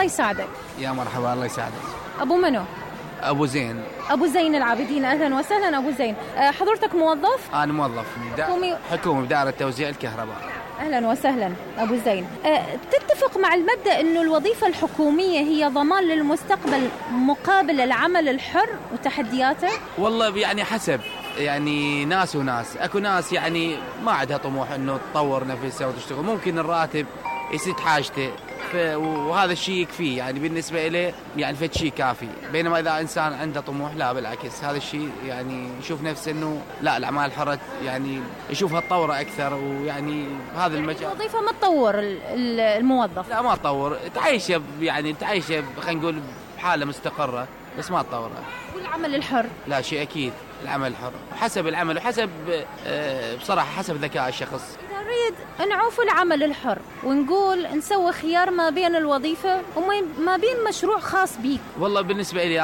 الله يساعدك. يا مرحبا، الله يساعدك. أبو منو؟ أبو زين. أبو زين العابدين، أهلا وسهلا أبو زين. حضرتك موظف؟ أنا موظف حكومي بدائرة توزيع الكهرباء. أهلا وسهلا أبو زين. تتفق مع المبدأ أنه الوظيفة الحكومية هي ضمان للمستقبل مقابل العمل الحر وتحدياته؟ والله يعني حسب، يعني ناس وناس. أكو ناس يعني ما عندها طموح أنه تطور نفسها وتشتغل، ممكن الراتب يسد حاجته وهذا الشيء يكفيه، يعني بالنسبة إليه يعني فد شيء كافي. بينما إذا إنسان عنده طموح لا بالعكس، هذا الشيء يعني يشوف نفسه إنه لا الأعمال الحرة يعني يشوفها تطور أكثر، ويعني هذا المجال. الوظيفة ما تطور الموظف؟ لا ما تطور، تعيشه يعني تعيشه خلينا نقول بحالة مستقرة، بس ما تطورها. والعمل الحر؟ لا شيء أكيد، العمل الحر حسب العمل وحسب بصراحة حسب ذكاء الشخص. نريد نعوف العمل الحر ونقول نسوي خيار ما بين الوظيفة وما بين مشروع خاص بيك. والله بالنسبة لي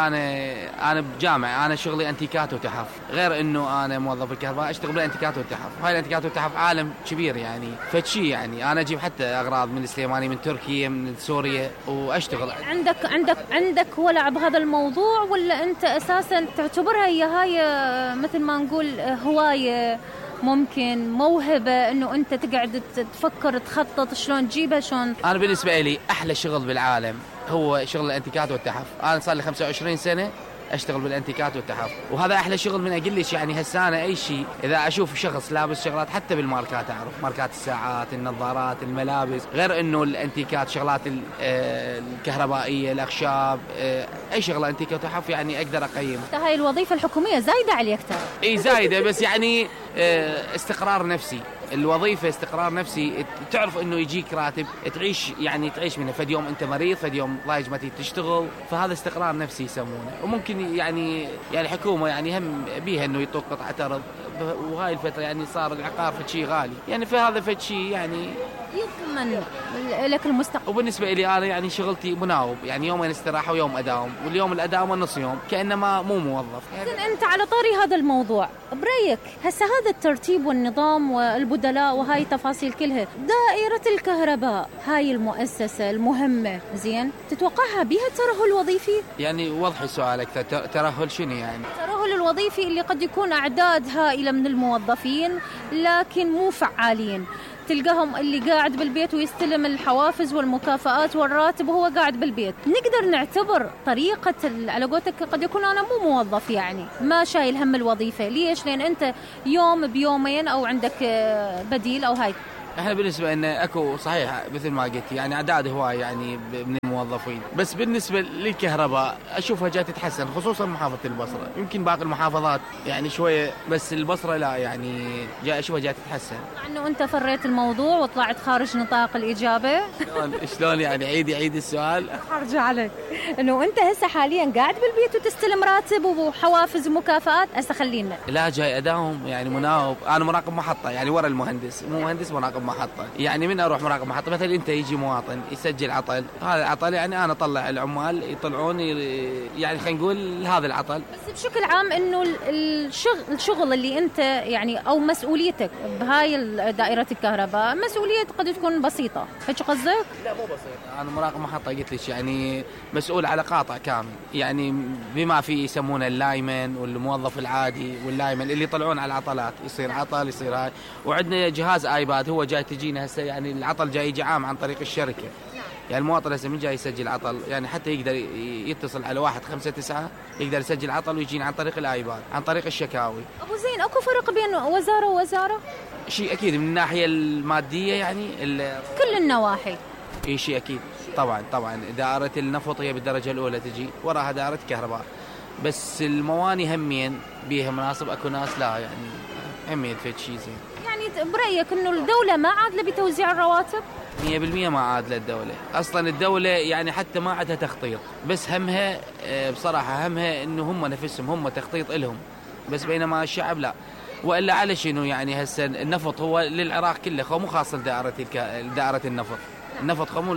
أنا بجامعة، أنا شغلي أنتيكات وتحف، غير إنه أنا موظف الكهرباء أشتغل بالأنتيكات والتحف. هاي الأنتيكات والتحف عالم كبير يعني، فتشي يعني أنا أجيب حتى أغراض من السليماني، من تركيا، من سوريا، وأشتغل. عندك ولع بهذا الموضوع، ولا أنت أساسا تعتبرها هي مثل ما نقول هواية، ممكن موهبة إنه أنت تقعد تفكر تخطط شلون تجيبها شلون؟ أنا بالنسبة لي أحلى شغل بالعالم هو شغل الأنتيكات والتحف. أنا صار لي 25 سنة أشتغل بالأنتيكات والتحف، وهذا أحلى شغل. من أقلش يعني هسانة أي شيء إذا أشوف شخص لابس شغلات حتى بالماركات، أعرف ماركات الساعات، النظارات، الملابس، غير إنه الأنتيكات شغلات الكهربائية، الأخشاب، أي شغلة أنتيكات وتحف يعني أقدر أقيم. هاي الوظيفة الحكومية زايدة عليك ترى. إيه زايدة، بس يعني استقرار نفسي. الوظيفة استقرار نفسي، تعرف انه يجيك راتب تعيش منه. فد يوم انت مريض، فد يوم ضايج ما تيجي تشتغل، فهذا استقرار نفسي يسمونه. وممكن يعني حكومة يعني هم بيها انه يطوق قطعة ارض، وهاي الفترة يعني صار العقار فد شيء غالي، يعني فهذا فد شيء يعني يضمن لك المستقبل. وبالنسبة لي أنا يعني شغلتي مناوب، يعني يومين استراحة ويوم أداوم، واليوم الأداوم والنص يوم كأنما مو موظف. أنت على طاري هذا الموضوع، برأيك هسه هذا الترتيب والنظام والبدلاء وهاي تفاصيل كلها، دائرة الكهرباء هاي المؤسسة المهمة زين، تتوقعها بها الترهل الوظيفي؟ يعني وضحي سؤالك، ترهل شنو يعني؟ الترهل الوظيفي اللي قد يكون أعداد هائلة من الموظفين لكن مو فعالين، تلقاهم اللي قاعد بالبيت ويستلم الحوافز والمكافآت والراتب وهو قاعد بالبيت. نقدر نعتبر طريقة على قولتك قد يكون أنا مو موظف يعني ما شايل هم الوظيفة. ليش؟ لأن أنت يوم بيومين أو عندك بديل أو هاي. احنا بالنسبة ان اكو صحيح مثل ما قلت يعني اعداد هواي يعني من الموظفين، بس بالنسبة للكهرباء اشوفها جاي تتحسن، خصوصا محافظة البصرة. يمكن باقي المحافظات يعني شوية، بس البصرة لا يعني جاي اشوفها جاي تتحسن. مع انه انت فريت الموضوع وطلعت خارج نطاق الإجابة. شلون يعني؟ عيد السؤال. ارجع عليك انه انت هسه حاليا قاعد بالبيت وتستلم راتب وحوافز ومكافآت. هسه خلينا لا جاي اداوم يعني مناوب. انا مراقب محطة يعني ورا المهندس، مو مهندس مراقب محطة. يعني من اروح مراقب محطة مثلا انت يجي مواطن يسجل عطل، هذا العطل يعني انا اطلع العمال يطلعون يعني خلينا نقول هذا العطل. بس بشكل عام انه الشغل اللي انت يعني او مسؤوليتك بهاي دائرة الكهرباء مسؤولية قد تكون بسيطة، هيك قصدك؟ لا مو بسيطة. انا مراقب محطة قلت لك يعني مسؤول على قاطع كامل، يعني بما في يسمونه اللايمن والموظف العادي واللايمن اللي يطلعون على العطلات، يصير عطل يصير هاي. وعندنا جهاز ايباد هو جاي تجينا هسه يعني العطل جاي يجي عام عن طريق الشركة. يعني المواطن هسه من جاي يسجل عطل يعني حتى يقدر يتصل على 159 يقدر يسجل عطل ويجينا عن طريق الايباد، عن طريق الشكاوي. ابو زين اكو فرق بين وزارة ووزارة؟ شيء اكيد من الناحية المادية يعني كل النواحي. اي شيء اكيد طبعا دائرة النفط هي بالدرجة الاولى تجي، وراها دائرة كهرباء. بس المواني همين بيها مناصب، اكو ناس لا يعني همين في شيء زين. يعني برأيك انه الدولة ما عادلة بتوزيع الرواتب؟ 100% ما عادلة الدولة. اصلا الدولة يعني حتى ما عندها تخطيط، بس همها بصراحة همها انه هم نفسهم هم تخطيط لهم، بس بينما الشعب لا. والا على شنو يعني هسه النفط هو للعراق كله، هو مو خاص لدائرة النفط. النفط خمو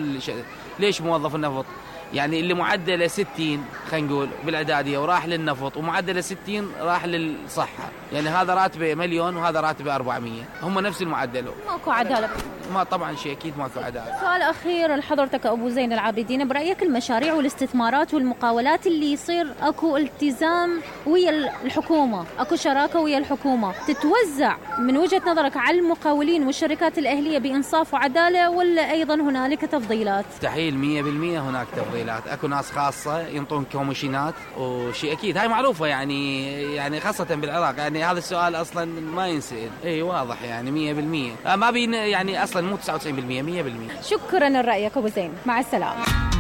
ليش موظف النفط يعني اللي معدله 60 خلينا نقول بالاعداديه وراح للنفط، ومعدله 60 راح للصحه، يعني هذا راتبه 1,000,000 وهذا راتبه 400، هم نفس المعدل. ماكو عداله. ما طبعا شيء اكيد ماكو عداله. سؤال اخير لحضرتك ابو زين العابدين، برايك المشاريع والاستثمارات والمقاولات اللي يصير اكو التزام ويا الحكومه، اكو شراكه ويا الحكومه، تتوزع من وجهه نظرك على المقاولين والشركات الاهليه بانصاف وعداله، ولا ايضا هنالك تفضيلات؟ مستحيل 100% هناك تفضيلات، اكو ناس خاصه ينطون كوميشنات وشيء اكيد هاي معروفه يعني خاصه بالعراق، يعني هذا السؤال اصلا ما ينسال. اي واضح يعني 100%، ما بين يعني اصلا مو 99%، 100%. شكرا لرايك ابو زين، مع السلامه.